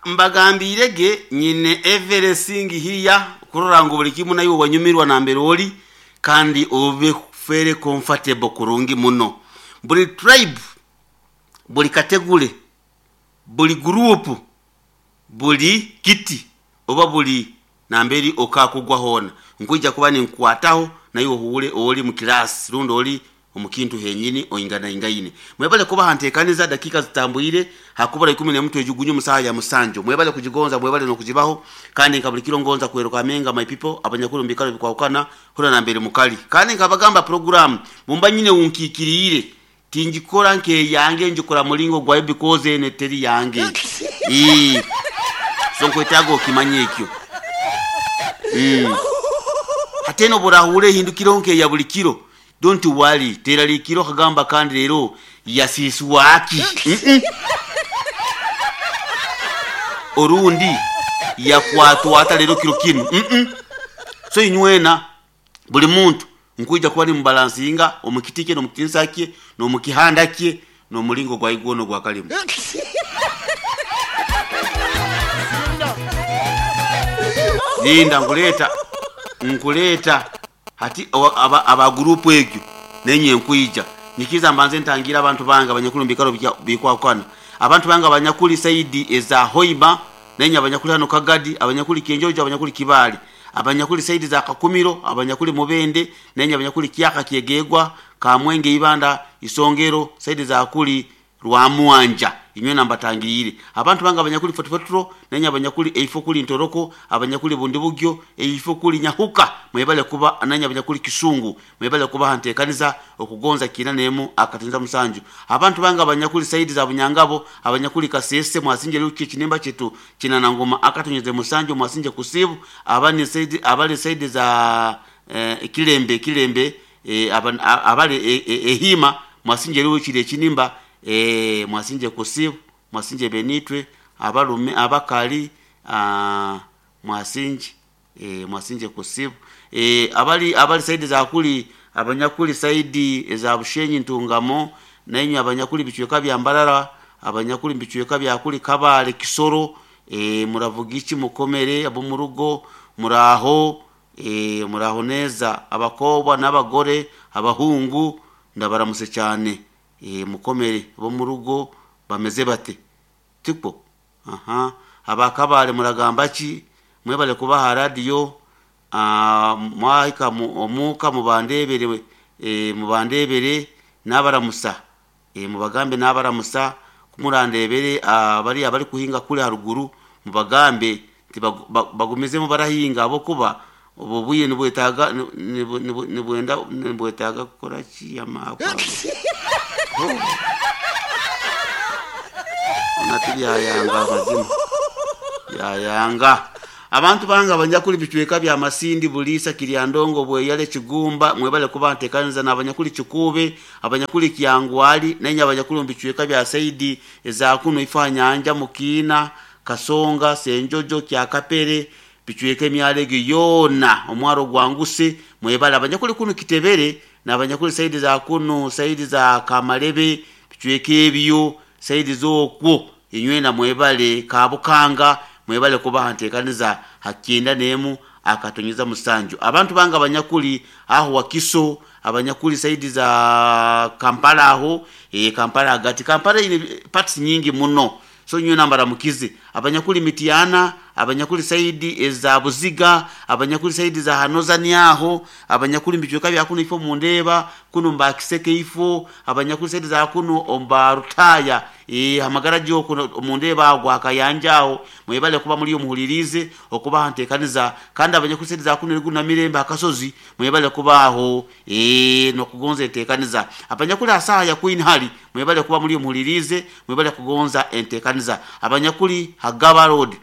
Mbagambiirege nyine everything here kurora ngu buli kimu naiwe wanyumirwa nambere oli kandi obe very comfortable kurungi muno. Buli tribe, buli category, buli group, buli kiti oba buli namberi okakugwa hoona nkwija kuba ninkukwataho naiwe ohuure ori mu class rundi ori omu kintu henyini oinganaingaine. Mwebale kuba ha nteekaniza dakiika zitambwire hakubura 11 twejugunye omu saaha ya musanju. Mwebale kugigonza, mwebale n'okugibaho kandi nka buli kiro ngonza kweruka my people abanyakuli omu biikaro bikwahukana hura nambere mukali. Kandi nkabagamba program bumba nyine unkiikiriire tingikora nk'eyange ngikora mulingo gwayo because eno teri yange. So nkwetaaga okimanye ekyo. Hati eno obu ehindukiraho nk'eya buli kiro, don't worry, teraliikira okagamba kandi leero yasiiswaki. Orundi yakwatwa ata leero kiro kinu. So inywena buli muntu nkwija kuba nimubalansinga omu kiti kye n'omu kitinisa kye n'omu kihanda kye n'omulingo gwaye gwona ogwakalimu. Linda nkuleeta nkuleeta hati aba gurupu egyo nenye nkwija nyikiza mbanze ntangira abantu bange abanyakuli omu biikaro bikwahukana. Abantu bange abanyakuli saidi eza Hoima nenye abanyakuli hano Kagadi, abanyakuli Kyenjojo, abanyakuli Kibaale, abanyakuli saidi za Kakumiro, abanyakuli Mubende, nenye abanyakuli Kyaka Kyegegwa, Kamwenge Ibanda, Isongero, saidi za kuli Rwamwanja inywe nambatangiriire. Abantu bange abanyakuli Fort Portal nenye abanyakuli eifo kuli Ntoroko, abanyakuli Bundibugyo, eifo kuli Nyahuka, mwebale kuba nenye abanyakuli Kisungu, mwebale kuba hanteekaniza okugonza kiina nemu akatinza musanju. Abantu bange abanyakuli saidi za Bunyangabo, abanyakuli Kasese mwasinje luki ekinimba kyetu kinanangoma akatonyeze musanju mwasinje kusibu, abani saidi abali saidi za Kilembe Kilembe abali ehima mwasinje luki ekinimba mwasinje kusibu, mwasinje benitwe, abalume abakali mwasinje mwasinje kusibu. Abali saidi za kuli abanyakuli saidi eza Bushenyi Ntungamo nenye abanyakuli bicweka bya Mbarara, abanyakuli bicweka bya kuli Kabale Kisoro, muravuga iki mukomere abo mu rugo muraho, muraho neza abakobwa n'abagore abahungu ndabaramuse cyane. Mukomere bo mu rugo bameze bate tipo aha abakabale muragamba ki mwebale kubaha radio mwahika omuka mubandebere, mubandebere n'abaramusa, mubagambe n'abaramusa kumurandebere abari abari kuhinga kuri haruguru mubagambe nti bagumizemo barahinga abo kuba ubu buye nibwetaga nibwenda nibwetaga kukora ki amakwa nati byayanga amazima byayanga. Abantu bange abanyakuli bicweka bya Masindi, Bulisa, Kiryandongo, Bweyale, Kigumba mwebale kuba nteekaniza n'abanyakuli Kikube, abanyakuli Kyangwali nenye abanyakuli mu bicweka bya saidi eza kuno Ifanyanja, Mukiina, Kasonga, Senjojo, Kyakapere, bicweka emyalo egyo yoona omwaro gwanguse mwebale. Abanyakuli kuno Kitebere n'abanyakuli saidi za kuno saidi za Kamarebe bicweka ebyo saidi z'okwo inywena mwebale. Kabukanga mwebale kubaha nteekaniza hakyenda nemu akatonyeza musanju. Abantu bange abanyakuli aho Wakiso, abanyakuli saidi za Kampala aho, Kampala hagati Kampala ine parts nyingi muno so nywena mbaramukize. Abanyakuli Mitiana, abanyakuli saidi eza Buziga, abanyakuli saidi za Hanozani aho, abanyakuli mbicweka bya kuno ifo mundeba kuno mbakiseke ifo, abanyakuli saidi za kuno omba Rutaya, hamagara gyo kuno mundeba agwa akayanja aho mwebale kuba muri muhulirize okuba hantekaniza. Kandi abanyakuli saidi za kuno riguna mirembe akasozi mwebale kuba aho nokugonza entekaniza. Abanyakuli asaha ya Queen Hali mwebale kuba muri muhulirize mwebale kugonza entekaniza. Abanyakuli Hagaba Road,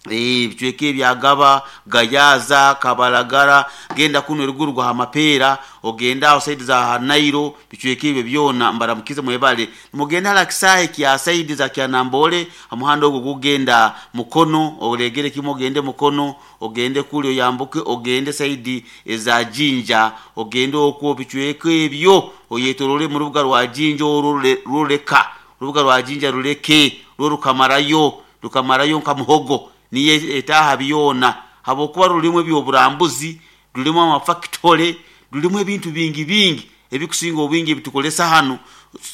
bicweka ebyagaba Gayaza, Kabalagara, genda kuno eruguru gwa Hamapera, ogenda aho saidi za Nairo, bicweka ebyo byona mbaramukize mwebale. Mugenda hala kisahe kya saidi za Kyanambole, omuhanda ogwo gugenda Mukono, olegere kimwe ogende Mukono, ogende kuli oyambuke ogende saidi eza Jinja, ogende okwo bicweka ebyo oyetorole mu rubuga rwa Jinja orwo ruleka urubuga rwa Jinja ruleke. Rwo rukamarayo, rukamarayo nka muhogo, niyo etaaha byona, habwokuba rulimu ebyoburambuzi, rulimu amafactory, rulimu ebintu bingi bingi ebikusinga obwingi ebitukozesa hanu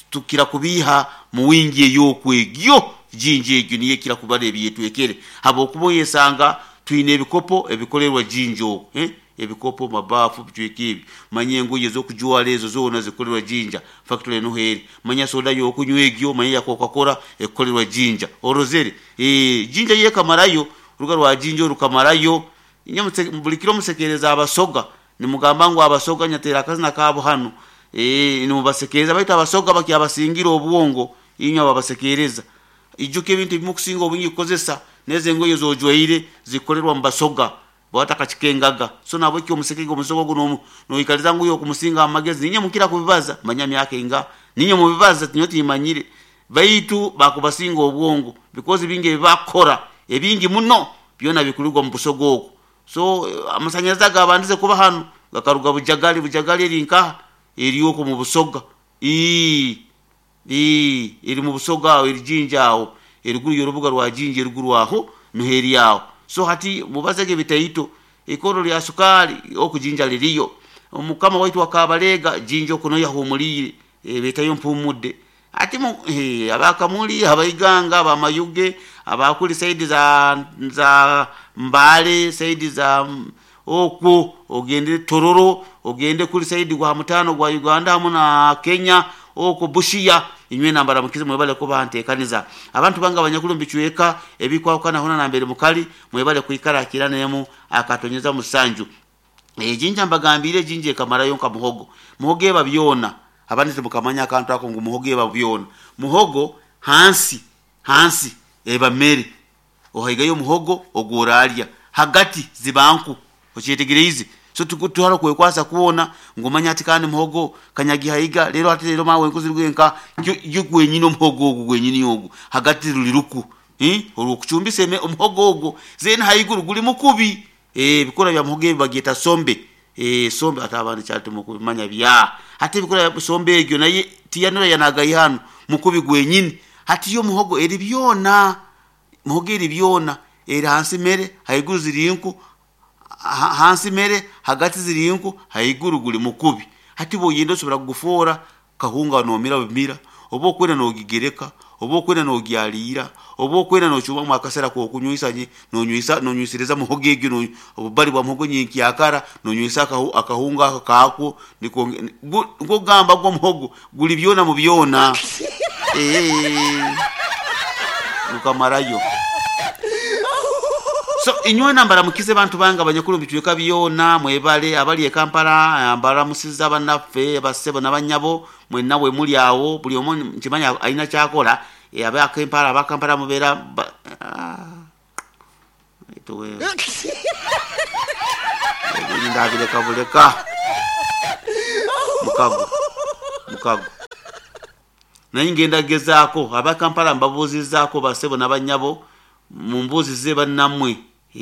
tukira kubiiha mu wingi ey'okwo egyo. Jinja egyo niyo ekira kubara ebyetwekere, habwokuba oyesanga twine ebikopo ebikolerwa Jinja okwo, ebikopo, mabaafu, bicweka ebi. Manya engoye ez'okujwara ezo zoona zikukorerwa Jinja, factory nuho eri. Manya soda y'okunywa egyo, manya eya Coca-Cola ekukorerwa Jinja. Orozere? Jinja yo ekamarayo, orubuga rwa Jinja oru rukamarayo. Inye buli kiro musekeereza Abasoga, nimugamba ngu Abasoga nyateera akazina kaabo hanu, nimubasekeereza baitu Abasoga bakyabasingira obwongo inywe ababasekeereza. Ijuka ebintu ebi mukusinga obwingi kukozesa, n'ezo engoye ez'ojwaire zikukorerwa mu Basoga, bwatakakikengaga. So nahabweki omusekege Omusoga ogu noikaliza ngu iwe okumusinga amagezi, niinywe mukira kubibaza, manya myaka ingaha, niinywe mubibaza nyowe timmanyire, baitu bakubasinga obwongo because bingi ebi bakukora, ebingi muno byona bikurugwa mu Busoga okwo. So amasanyarazi agaabandize kuba hanu gakaruga Bujagali, Bujagali eri nkaha? Eri okwo mu Busoga. Eri mu Busoga aho, eri Jinja aho, eriguru y'orubuga rwa Jinja eriguru aho nuho eri aho. So hati mubazege bitaito, ikorro lya sukaali oku Jinja liriyo. Omukama waitu wa Kabalega Jinja oku nuho yahumuliire, beetayo Mpumudde. Hati Abakamuli, Abaiganga, Abamayuge, abakuli saidi za Mbale, saidi za okwo ogende Tororo, ogende kuli saidi gwa mutaano gwa Uganda hamu na Kenya, okwo Busia, inywena mbaramukize mwebale kuba nteekaniza. Abantu bange abanyakuli omu bicweka ebikwahukana hoona nambere mukali, mwebale kwikara ha kirano emu akatonyeza musanju. Jinja mbagambiire, Jinja ekamarayo nka muhogo. Muhogo eba byona, abandi timukamanya akantu ako ngu muhogo eba byona. Muhogo hansi, hansi eba mere, ohaigayo omuhogo ogu oraalya, hagati ziba nku, okyetegereize? So tiharo kwekwasa kwona ngu omanye hati kandi muhogo kanyagihaiga, reero hati reero maawe enku ziruge nkaha, yo gwenyini omuhogo ogu gwenyini ogu hagati ruli ruku, orw'okucumbisa omuhogo ogwo, then haiguru guli mukubi. Ebikura bya muhogo ebi babyeta sombe, sombe hati abandi kyali timukubimanya bya. Hati ebikura bya sombe egyo nayo tiyanura yanagaiha hanu, mukubi gwenyini. Hati yo muhogo eri byona, muhogo eri byona, eri hansi mere, haiguru ziri nku, hansi mere, hagati ziri nku, haiguru guli mukubi. Hati bw'oyenda osobora kugufoora kahunga noomira bumira, oba okwenda noogigereka, oba okwenda noogyaliira, oba okwenda noocumbamu akasera k'okunywisa noonywisiriza muhogo egyo, obubali bwa muhogo nyenkyakara, noonywisa akahunga ako kaakwo, nikwo kugamba gwo omuhogo guli byona mu byona. Gukamarayo. So inywena mbaramukize bantu bange abanyakuli omu bicweka byona, mwebale abali e Kampala mbaramusize abanaffe bassebo na banyabo mwenna we muli awo, buli omu nkimanya aina kyakora, aba Kampala mubeera ebindi ndabireka buleka. Mukago, mukago. Naye ngenda kugezaako aba Kampala mbabuuzizaako bassebo na banyabo, mumbuuzize bannammwe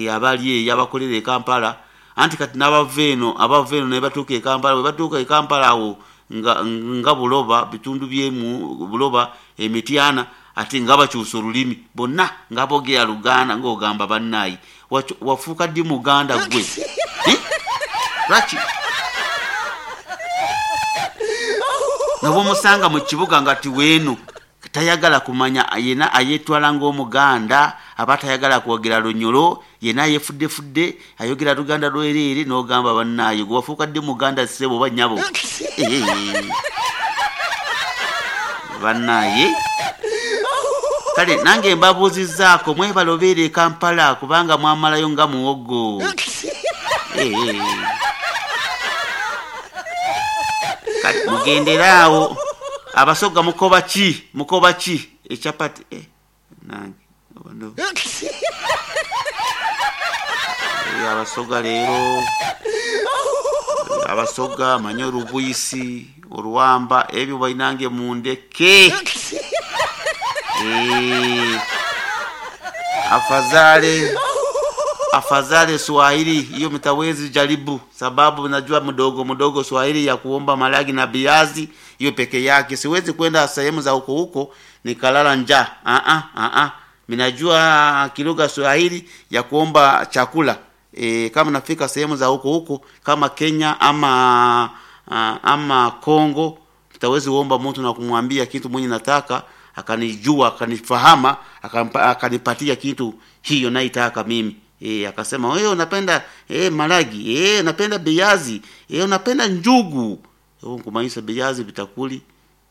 abali eyo abakolera e Kampala, anti kati n'abava eno, abava eno ne batuuka e Kampala, bwe batuuka e Kampala awo nga Buloba, bitundu byemu Buloba, Emityana, ate nga bakyusa olulimi bonna nga boogera Luganda ng'ogamba bannaaye wafuuka ddi Muganda ggwe? Lwaki? Nobw'omusanga mu kibuga nga tiweeno tayagala kumanya, yena ayetwala ng'Omuganda, aba tayagala kwogera Lunyoro, yena yefuddefudde, ayogera Luganda lwereere n'ogamba bannaaye gwe wafuuka ddi Muganda ssebo oba nnyabo? Bannaaye. Kale nange mbabuuzizzaako mwebale obeera e Kampala kubanga mwamalayo nga muwogo. Kale mugendere awo. Abasoga mukoba ki? Mukoba ki? Echapati nange Abasoga leero Abasoga manye orubwisi, oruwamba ebyo bainange mundeke. Afadhali Afadhali Swahili hiyo mtawezi jaribu, sababu najua mdogo mdogo Swahili ya kuomba maragi na viazi hiyo peke yake. Siwezi kwenda sehemu za huko huko nikalala njaa. Ah ah ah, minajua kilugha Swahili ya kuomba chakula. Kama nafika sehemu za huko huko kama Kenya ama ama Kongo, mtawezi uomba mtu na kumwambia kitu mwenye nataka akanijua akanifahama akanipatia kitu hiyo naitaka mimi. Akasema wewe unapenda maragi, unapenda biazi, unapenda njugu. Nkumanyisa biazi bitakuli,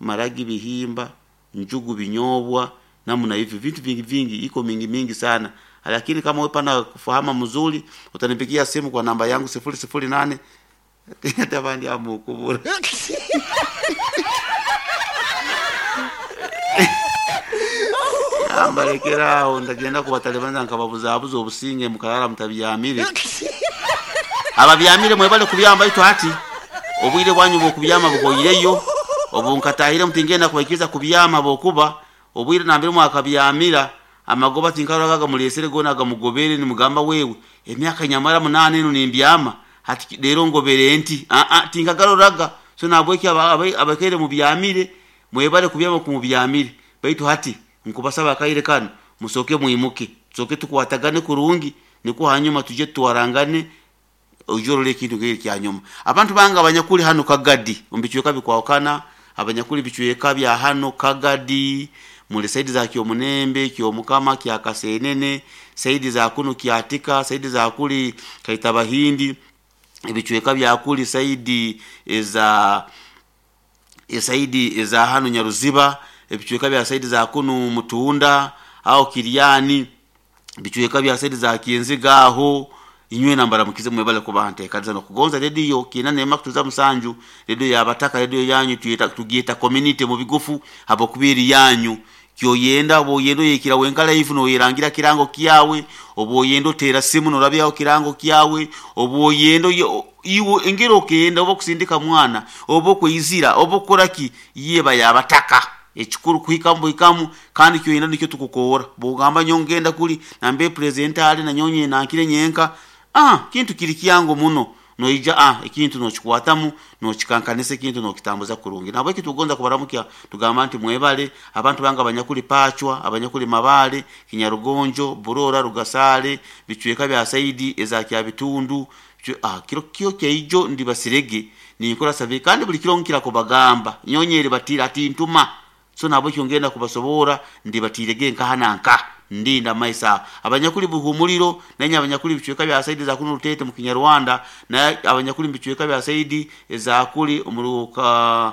maragi bihimba, njugu binyobwa, namna hivyo vitu vingi vingi, iko mingi mingi sana. Lakini kama wewe pana kufahamu mzuri, utanipigia simu kwa namba yangu 008 tabandi amukubura. Ambalekeraho ndagenda kubatalibana nkababuzabuza obusinge mukalala mutabyamire. Ababyamire mwebale kubyamba itu hati obwire bwanyu bwokubyama bukoyireyo obu nkatahire mutingenda kubaikiriza kubyama bokuba obwire nambere mwakabyamira amagoba tinkaragaga mulesere gona gamugobere nimugamba wewe emyaka nyamara 8 eno nimbyama hati lero ngobere nti a a tinkagaroraga. So nabweki abakere mubyamire mwebale kubyama kumubyamire baitu hati nkubasaba akaire kano musoke mwimuke tusoke tukwatagane kurungi niko hanyuma tuje tuwarangane ujorole kintu kiri kya nyuma. Abantu banga abanyakuli hano Kagadi umbichweka bikwakana abanyakuli bichweka bya hano Kagadi muli saidi za Kyomunembe, Kyomukama, Kyakasenene, saidi za kuno Kyatika, saidi za kuli Kaitabahindi, ibichweka bya kuli saidi za saidi za hano Nyaruziba, ebichweka bya saidi za kunu Mutunda au Kiriani, bichweka bya saidi za Kienziga aho inywe nambara mukize mwebale kubante kanza no kugonza radio kinane makutuza musanju radio yabataka radio yanyu tuyeta tugieta community mu bigufu hapo kubiri yanyu kyoyenda boyendo yekira wenkala ifu no yerangira kirango kiyawe oboyendo tera simu no rabyaho kirango kiyawe oboyendo iwo engero okenda obo kusindika mwana obo kwizira obo koraki yeba yabataka ekikuru kuhikamu buhikamu kandi kyoyenda nikyo tukukora bugamba nyongenda kuli nambe president ali na nyonye nankire nyenka kintu kiri kiyango muno noija ekintu nokikwatamu nokikankanisa ekintu nokitambuza kurungi. Nabwe kitugonza kubaramukia tugamba nti mwebale abantu banga abanyakuli Pachwa, abanyakuli Mabale, Kinyarugonjo, Burora, Rugasale, bichweka bya saidi eza kya bitundu kiro kyo kyeijo ndi basirege ninkora sabe kandi buli kiro nkira kubagamba nyonyere batira ati ntuma. So nabo kyongenda kubasobora ndi batirege nkahananka ndinda maisa abanyakuli buhumuliro nanya abanyakuli bichweka bya saidi za kuno Rutete mu Kinyarwanda na abanyakuli bichweka bya saidi za kuli umuruka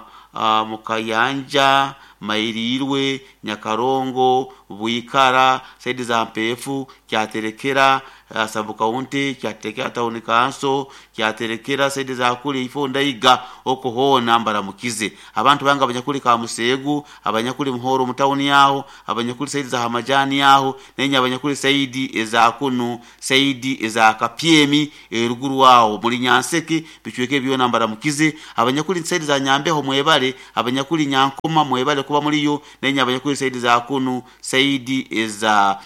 mukayanja Mairirwe, Nyakarongo, Buikara, saidi za Mpefu, Kyaterekera, Sabukaunti, Kyaterekera Town Council, Kyaterekera saidi za kuli ifo ndaiga okuhona mbaramukize. Abantu banga abanyakuli ka Musegu, abanyakuli Muhoro mu town yaho, abanyakuli saidi za Hamajani yaho, nenya abanyakuli saidi eza kunu, saidi eza Kapyemi, eruguru wao muri Nyanseke, bichweke byona mbaramukize. Abanyakuli saidi za Nyambeho mwebale, abanyakuli Nyankoma mwebale kuba muri yo, nenya abanyakuli saidi za kunu, saidi eza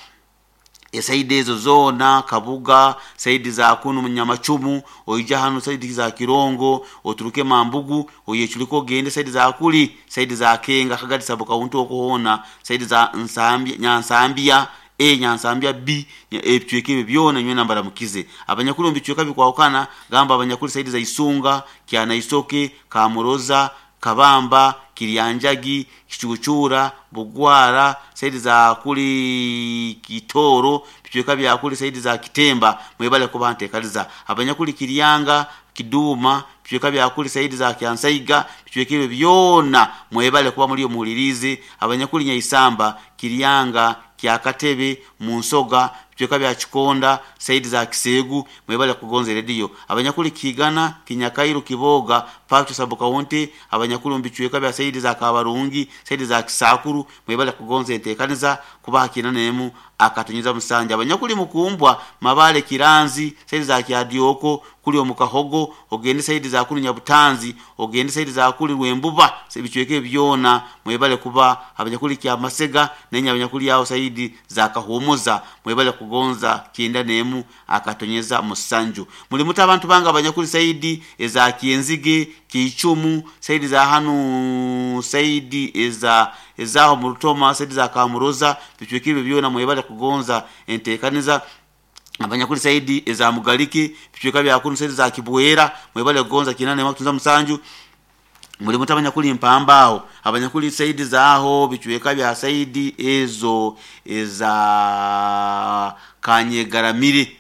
saidi ezo zona Kabuga, saidi za kunu Munyamachumu, oija hano saidi za Kirongo, oturuke Mambugu, oyechuliko gende saidi za kuli, saidi za Kenga, Kagadi Sabukaunti okuhona, saidi za Nsambia, Nyansambia A, Nyansambia B, ebichweka byona nywe nambara mukize. Abanyakuli mbichweka bikwawukana gamba abanyakuli saidi za Isunga, Kyana Isoke, Kamuroza, Kabamba, Kirianjagi, Kichuchura, Bugwara, saidi za kuli Kitoro, bichweka bya kuli saidi za Kitemba, mwebale kubante kaliza. Abanyakuli Kirianga, Kiduma, bichweka bya kuli saidi za Kyansaiga, bichweka byona mwebale kuba muri muhulirize. Abanyakuli Nyaisamba, Kirianga, Kyakatebe, Munsoga, bichweka bya Kikonda, saidi za Kisegu, mwebale kugonza radio. Abanyakuli Kigana, Kinyakairu, Kiboga, Pacho Sabukaunti, abanyakuli mbichweka bya saidi za Kabarungi, saidi za Kisakuru, mwebale kugonza entekaniza kubaha kinanemu akatunyuza musanja. Abanyakuli Mukumbwa, Mabale, Kiranzi, saidi za Kyadioko, kuli omukahogo, ogende saidi za kuli Nyabutanzi, ogende saidi za kuli Rwembuba, bichweke byona mwebale kuba abanyakuli Kyamasega, nenya abanyakuli yao saidi za Kahumuza, mwebale kugonza kugonza 91.7. Muli muta abantu bange abanyakuli saidi eza Kienzige, Kiichumu, saidi za hanu, saidi eza ezaho Murutoma, saidi za Kamuroza, bichwekire byona mwebale kugonza entekaniza. Abanyakuli saidi eza Mugaliki, bichweka bya kunu saidi za Kibwera, mwebale kugonza 8.7. Muli muta abanyakuli mpambao, abanyakuli saidi zaho bichweka bya saidi ezo eza Kanyegaramire,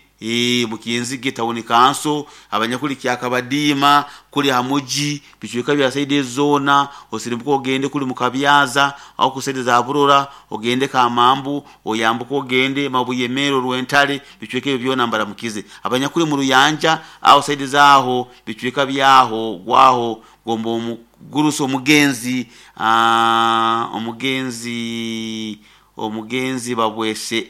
Mukienzige tawuni kanso, abanyakuli Kyakabadima kuli hamuji, bichweka bya saidi ezona, osirimbuka ogende kuli Mukabyaza au kusaidi za Burora, ogende Kamambu, oyambuka ogende Mabuyemero Rwentale, bichweka ebyo byona mbaramukize. Abanyakuli mu Ruyanja au saidi zaho bichweka byaho gwaho gombo omuguruso omugenzi, omugenzi omugenzi babwese,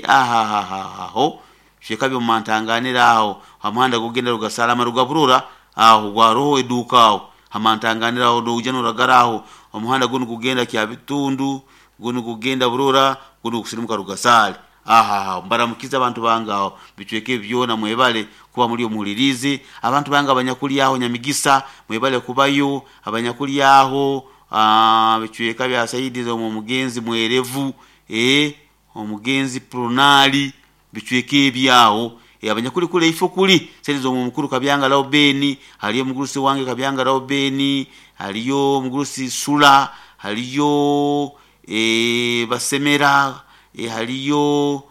ahahahaho bichweka byo mantanganira aho hamuhanda gugenda rugasalama rugaburura aho gwaroho eduka aho hamantanganira aho doja noragara aho omuhanda gunu gugenda kya bitundu gunu gugenda burura gunu kusirimuka rugasale. Aha mbaramukiza abantu bangaho bichweke byona mwebale kuba muri omuhulirizi. Abantu banga abanyakuli aho Nyamigisa mwebale kubayo, abanyakuli aho bichweka bya saidi zo mugenzi mwerevu, omugenzi Pronali, bichweke ebyaho. Abanyakuli kule ifo kuli saidi zo mukuru Kabyanga Laubeni, haliyo mugurusi wange Kabyanga Laubeni, haliyo mugurusi Sula, haliyo Basemera, haliyo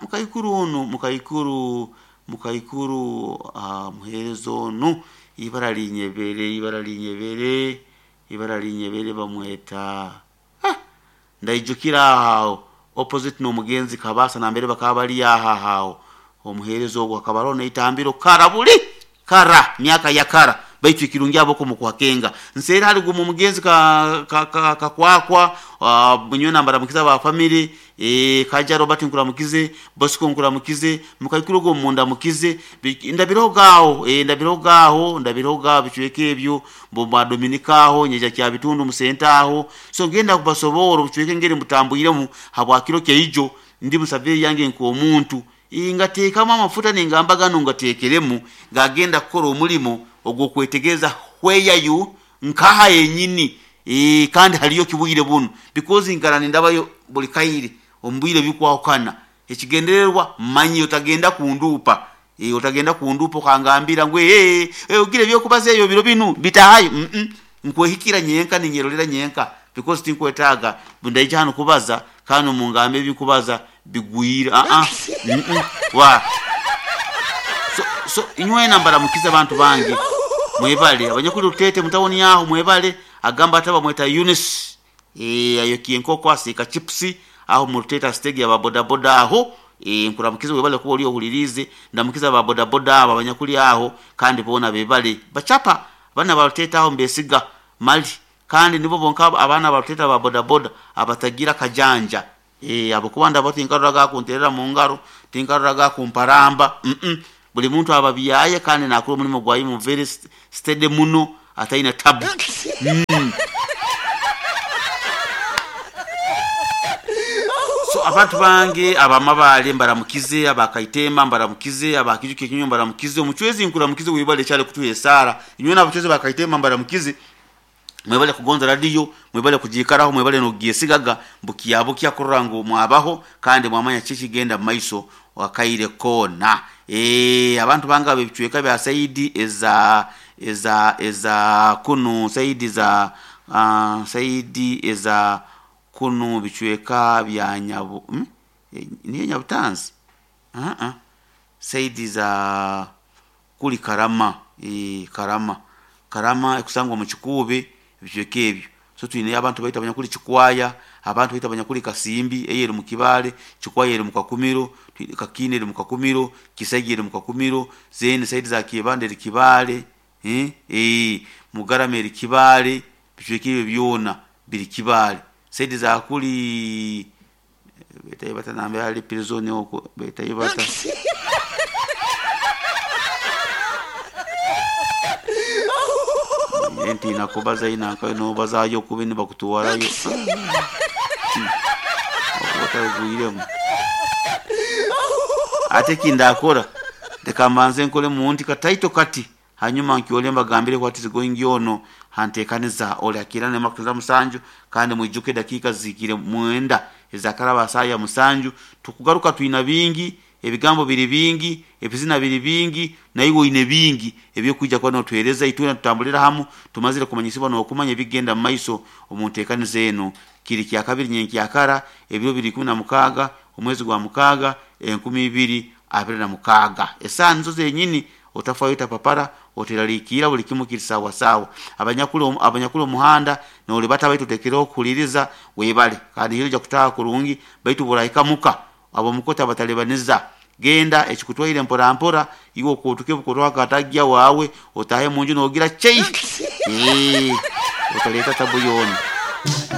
mukaikuru ono mukaikuru mukaikuru muherezo ono ibara linyebere ibara linyebere ibara linyebere bamweta ndaijukira aho opposite no mugenzi Kabasa na mbere bakaba bali aho omuherezo ogwo akaba arona itambiro kara buli kara myaka ya kara baitu ikirungi aboko mukwakenga nsera ali gumu mugenzi ka ka ka, ka kwakwa munyona mbaramukiza ba family, Kaja Robert nkuramukize, Bosco nkuramukize, mukaikuru go munda mukize ndabirogaho, ndabirogaho ndabiroga bichweke ebyo bomba Dominika aho nyeja kya bitundu musenta aho. So ngenda kubasobora bichweke ngere mutambuyiremu habwakiro keijo ndi musave yange nko omuntu ingateekamu amafuta nengamba gano ngateekeremu ngagenda kukora omulimo ogw'okwetegereza hweyayu nkaha yenyini, kandi haliyo kibwire buno because nkara nindabayo buli kaire ombwire bikwahukana ekigendererwa manyi otagenda kundupa, otagenda kundupa okangambira ngu ogire byokubaza ebyo biro binu bitahayo. Nkwehikira nyenka ninyerolera nyenka because tinkwetaaga bundaija hano kubaza kandi mungambe ebikubaza bigwira. Wa so inywena mbaramukiza abantu bange mwebale abanyakuli Rutete mutawoni yaho mwebale agamba ataba mweta Eunice, ayokiye enkoko asika chipsi aho mu Rutete stage aba boda boda aho, nkuramukiza webale kuba oli ohulirize ndamukiza aba boda boda aba abanyakuli aho kandi bona bebale bachapa bana ba Rutete aho mbesiga mali kandi nibo bonka abana ba Rutete aba boda boda abatagira kajanja, abo kubanda bo tinkaruraga kunterera mu ngaro tinkaruraga kumparamba. Buli muntu ababyaye kandi nakuru mulimo gwa imu very steady muno ataina tabu. So abantu bange abamabale mbaramukize, abakaitema mbaramukize, abakijuke kinyo mbaramukize, omuchwezi nkuramukize wibale cyale kutuye sara inywe nabachwezi bakaitema mbaramukize mwebale kugonza radio, mwebale kujikaraho, mwebale nogiesigaga mbukiyabo kyakurora ngo mwabaho kandi mwamanya kikigenda maiso wakaire kona. Abantu banga bicweka bya saidi eza eza eza kunu saidi za saidi eza kunu bicweka bya nyabu, niye Nyabutanzi, saidi za kuli Karama, Karama Karama ekusangwa mu Kikuube bicweka ebyo. So twine abantu baita abanyakuli Kikwaya, abantu baita abanyakuli Kasimbi eyeri mu Kibale, Kikwaya eri mu Kakumiro, Kakine eri mu Kakumiro, Kisagi eri mu Kakumiro, zene saidi za Kibande eri Kibale, Mugarame eri Kibale, bicweka ebyo byona biri Kibale. Saidi za kuli betayo batanambe ali prison oko betayo bata enti nakubaza inaka no bazayo kubini bakutuwarayo. Atarugwiremu ate ekindakora, leka mbanze nkole munti kataito kati, hanyuma nkyole mbagambire what is going on hantekaniza oli akirana emakutuza 7. Kandi mwijuke dakiika zihikire 9 ezakaraba saa ya 7. Tukugaruka twina bingi, ebigambo biri bingi, ebizina biri bingi, naiwe oine bingi ebyokwija kuba notuhereza. Itwena tutambulira hamu, tumazire kumanyisibwa n'okumanya ebigenda mu maiso omu nteekaniza eno. Kiri kyakabiri nyenkyakara, ebiro biri 16 omwezi gwa 6 2026, esaaha nizo zenyini. Otafayo, otapapara, oteraliikirra, buli kimu kiri sawa sawa. Abanyakuli omuhanda nolibata, baitu otekereho kuhuliriza, webale, kandi hiro ojja kutaaha kurungi. Baitu bworahika muka, ab'omukota batalibaniza, genda ekikutwaire mpora mpora, iwe okuutuke bukorwaho akatagya wawe, otaahe munju nogira chei, otaleta tabu yoona.